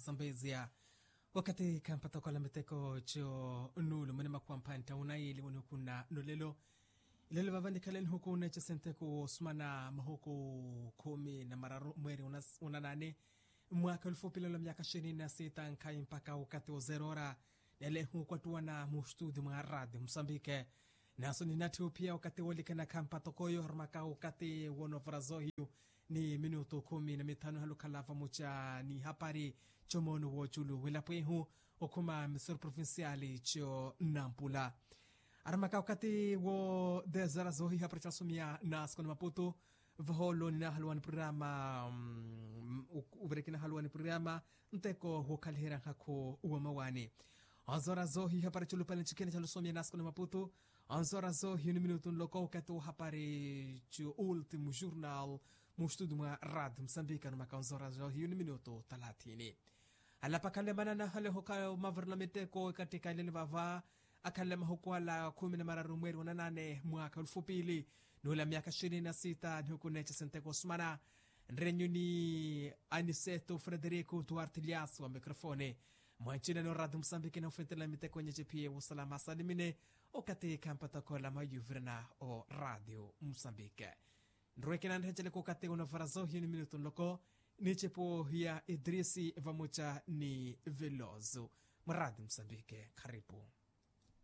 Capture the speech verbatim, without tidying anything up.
Sambeziya wakathi khampathokola miteko co nuulu mwene makhuwa mphantta unayili wanihukhunna nolelo. Ilelo vava nikhaleni hukhunna ecesenteko wosumana mahuku khumi na mararu mweeri unanani mmwaka olufupilelo myaka xini na sita nkhayi mpakha wakathi wozerora. Nele hukwattuwana mustudi mwa radio musambike. Naso ninatthi ophiya wakathi wolikana khampathokoyo harumaka wakathi wonovora zohiyu ni minutu khumi na mithanu halukhala vamuca ni hapari. Comoono woculu welapo ehu okhuma misoro provinciali co nampula. Aramaka wakathi wo dezara zohiha para casomiya na sikoni maputu. Vaholo ninahaluwa ni programa. Uvere kinahaluwa ni programa nteko wokhaliherya nkhakhu wamawani. Onzora zohiha para culupale ncikhene calusomiya na sikoni maputu. Onzora zohiha ni minutu nloko wakathi wohapari cu ultimu jurnal. Mu studio mwa radio musambika numaka onzora zohiha ni minutu talathini. Alapa khalemana nahale hoka mavarela miteko ekattikha eleli vava. Akhalela mahuku ala khumi na mararu mweeri wa nanane mwaka olufupili. Nuula myaka xini na sita nihuku neeca senteko osumana. Nrenyu ni aniseto frederico duarte lias wa microfone. Mwancina ni oradi musambiki nahufentela miteko nyece phiye wosalama asalimine. Okatthi khampathokola mayuvirana o radio musambiki. Nrwekena nrehenceleke okatthi onavara zohiyo ni minutu nloko. Ni cepo ya idrisi vamoca ni veloso mwa radio musambiki. Kharipu.